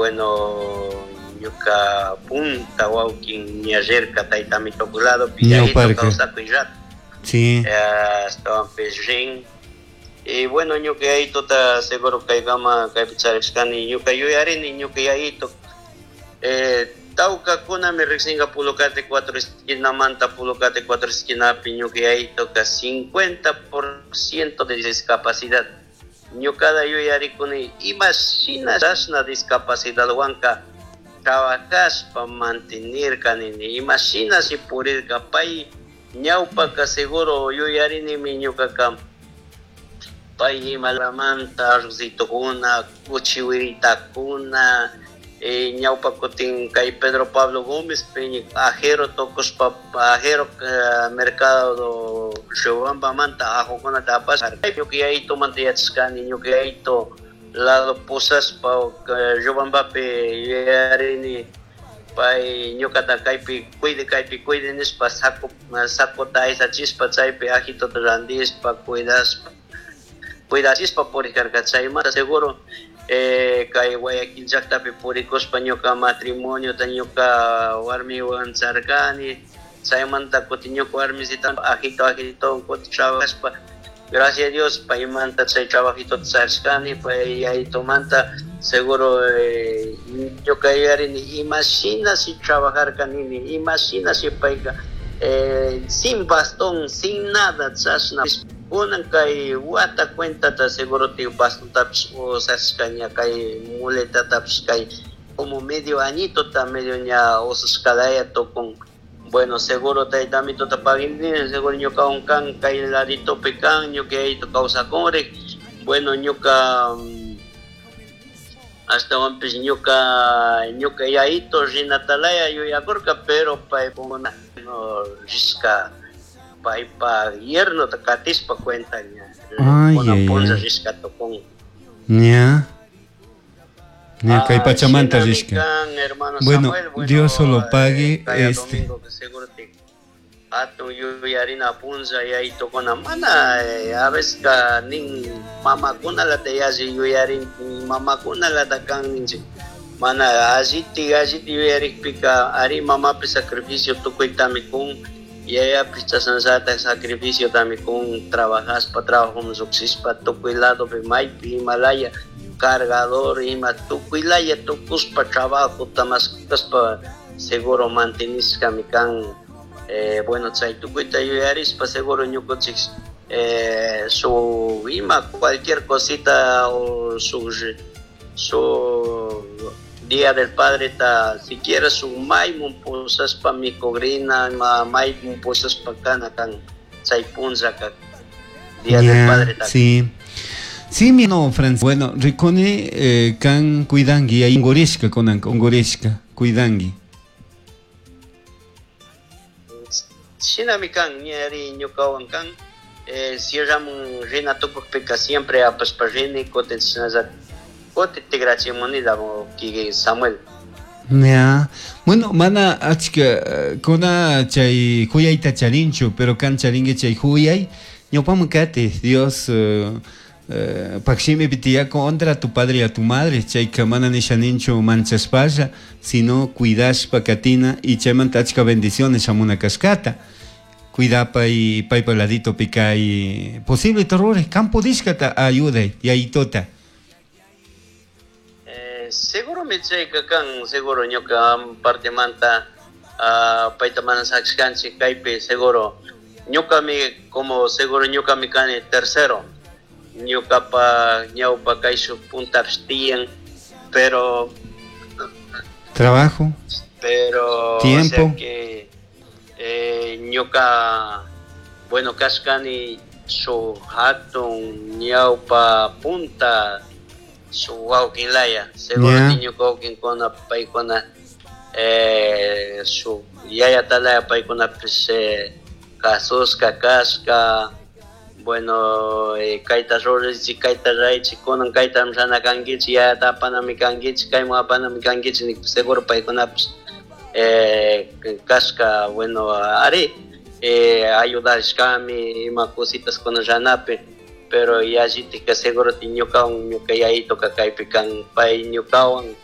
Bueno, ñuka punta wawkin ña rirka tayta Amitoku ladopi yayito Ñawparka. kawsakuy rato. Ashtawanpish rin. Y bueno, ñuka yayitota seguro kaykama kaypi charishkani, ñuka yuyarini ñuka yayito. Tawkakunami riksinka Pulocate 4 esquinamanta, Pulocate 4 esquinapi ñuka yayitoka 50% de discapacidad. Ñukada yuyarikuni ima shina chashna discapacidadwanka trabajashpa mantenirka nini, ima shina si purirka pay ñawpaka seguro yuyarinimi ñukaka pay imalamanta arrocitukuna, kuchiwiritakuna, ñawpa kutin kay Pedro Pablo Gómez peña ajero tukushpa, ajero mercado Riobambamanta ajokunata apashpa, ñuka yayitumanta yachashkani, ñuka yayito lado pusashpa, Riobambapi yuyarini pay ñukata kaypi cuide, kaypi cuide nishpa sacota aysachishpa chaypi ajitota randishpa cuidashpa, cuidachishpa purikarka. Chaymanta seguro kay Guayaquil llaktapi purikushpa ñuka matrimoniota ñuka warmiwan charkani, chaymanta kutin ñuka warmisita ajito ajito kutin trabajashpa, gracias a Dios paymanta chay trabajitota charishkani, pay yayitumanta seguro ñuka yuyarini ima shina si trabajarka nini, ima shina si payka sin bastón, sin nada, chashna. Kunan kay wata cuentata seguro te bastontapish usashkaña, kay muletatapish kay como medio añito ta medio ña usashkalaya tukun. Bueno, seguro tayta Amitota paguini, seguro ñuka unkan kay laditopi kan, ñuka yayito kawsakunrik. Bueno, ñuka, ashtawanpish ñuka yayito rinatalaya yuyakurka, pero paykuna no rishka, paypa yernota katishpa cuenta ña. Ay, Kuna ay, punlla ay. rishka tukun. Ña. Ña, kay Ah, pachamanta shinami rishka. kan, hermano Bueno, Samuel, bueno, Dios solo pague, kaya este. domingo que seguro te hatun yuyarina punlla yayitokuna mana a veces ka nin mamakunalata yalli yuyarin, mamakunalata kan ninchik. Mana alliti, alliti yuyarikpika ari mamapi sacrificio tukuytami kun, yayapi chashnallata sacrificio tami kun, trabajaspa, trabajoman lluqshishpa tukuy ladopi maypi Himalaya cargador ima tukuy laya tukuspa trabajo tamaskuspa seguro mantenishkami kan. Bueno, chay tukuyta yuyarispa seguro ñukunchik su ima cualquier cosita o su Día del Padre ta siquiera su maymun pusaspa mikugrina, ma maymun pusaspa kana kan chay punlla ka Día del Ya, Padre ta. Sí. Sí, mi no, Francis. Bueno, rikuni kan cuidangi, ahí ungurishka kunan, ungurishka, cuidangi. Shinami kan, ñari ñukawan kan, cierramun rina tukukpika siempre apashpa rini, kutin shinalla, kutin tigrachimunila, mo, ki Samuel. Ya. Bueno, mana achka kuna chay huyayta charinchu, pero kan charingue chay huyay, ñawpaman kati, Dios pakshimi pitiyako honra a tu padre y a tu madre, chayka mana nishaninchu manchaspalla, sino cuidashpa katina y chaymanta achka bendiciones shamuna kashkata. Cuidapa y paypa ladito pikay posible terrores, campo dishkata ayuday y ayitota. Seguro mi chayka kan, seguro ñuka parte manta, payta mana sakshkanchik kaypi, seguro ñukami, como seguro ñukami kani tercero, ñukapa ñawpa kayshuk puntapish tiyan, pero trabajo, pero, o tiempo. sea que ñuka, bueno, kashkani su hatun ñawpa punta su wawkin laya, seguro Ya. que ñuka wawkinkuna paykuna su yaya talaya paykunapish kasushka kashka, bueno kayta ruraychik, kayta raychik, kunan kayta rana kankichik, yayata apanami kankichik, kayman apanami kankichik, nikpi seguro paykunapish kashka, bueno, ari ayudashkami ima cositas kuna ranapi, pero yallitika seguro ti ñukawan, ñuka yayitoka kaypi kan, pay ñukawan